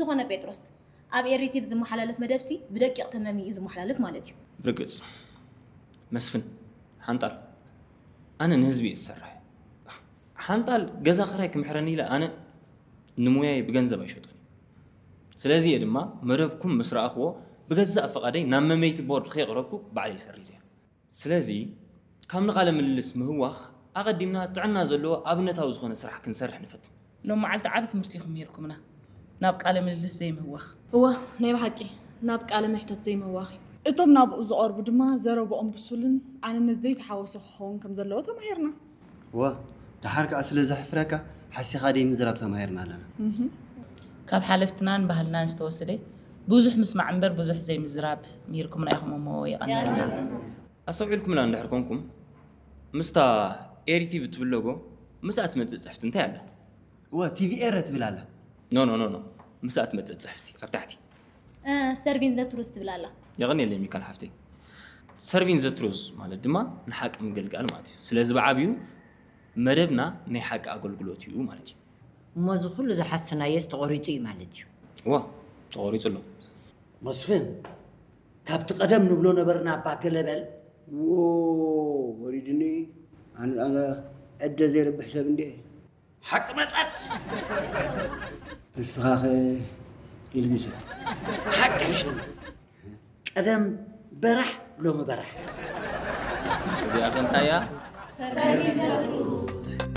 ዝኾነ ጴጥሮስ፣ ኣብ ኤሪቲቭ ዝመሓላለፍ መደብሲ ብደቂቕ ተመም እዩ ዝመሓላለፍ ማለት እዩ። ብርግጽ መስፍን ሓንጣል፣ ኣነ ንህዝቢ እየ ዝሰርሕ። ሓንጣል ገዛ ክራይ ክምሕረኒ ኢለ ኣነ ንሙያይ ብገንዘብ ኣይሸጦን። ስለዚ እየ ድማ መደብኩም ምስ ረኣኽዎ ብገዛእ ፈቓደይ ናብ መመይቲ ቦርድ ከየቕረብኩ ባዕለይ ሰሪዘ። ስለዚ ካብ ንቓለ ምልልስ ምህዋኽ ኣቐዲምና ጥዕና ዘለዎ ኣብነታዊ ዝኾነ ስራሕ ክንሰርሕ ንፈትን። ሎም መዓልቲ ዓቢ ትምህርቲ ኢኹም ሂርኩምና። ናብ ቃለ ምልልስ ዘይምህዋኽ። እወ ናይ ብሓቂ ናብ ቃለ መሕተት ዘይምህዋኽ እዩ። እቶም ናብኡ ዝቐርቡ ድማ ዘረብኦም ብሱልን ኣነነት ዘይተሓወሶ ክኸውን ከም ዘለዎ ተማሂርና። እወ ደሓር ከኣ ስለ ዘሕፍረካ ሓሲኻ ደይ ምዝራብ ተማሂርና ኣለና። ካብ ሓለፍትናን ባህልናን ዝተወሰደ ብዙሕ ምስማዕ እምበር ብዙሕ ዘይምዝራብ ምሂርኩምና ኢኹም እሞ የቐንየልና። ኣስተውዒልኩምላ እንድሕር ኮንኩም ምስታ ኤሪ ቲቪ ትብል ሎጎ ምስኣ ትመጽእ ጽሕፍቲ እንታይ ኣላ? እወ ቲቪ ኤረ ትብል ኣላ። ኖ ኖ ኖ ኖ ምስኣ ትመጽእ ጽሕፍቲ ኣብ ታሕቲ Serving the Truth ትብል ኣላ። የቐንየለይ ሚካል ሓፍተይ። Serving the Truth ማለት ድማ ንሓቂ ምግልጋል ማለት እዩ። ስለዚ ብዓብዩ መደብና ናይ ሓቂ ኣገልግሎት እዩ ማለት እዩ። እሞ እዚ ኩሉ ዝሓሰናዮስ ተቖሪጹ እዩ ማለት እዩ። እዋ ተቖሪጹ ኣሎ። መስፍን ካብቲ ቀደም ንብሎ ነበርና እባ ገለ በል። ዎ ወሪድኒ ኣነ ኣነ ዕደ ዘይረብሕ ሰብ እንዴ። ሓቂ መጸት ንስኻኸ ኢልሚሰ ሓቂ ሕሸኒ ቀደም በራሕ ሎሚ በራሕ እዚኣ ከ እንታይ እያ?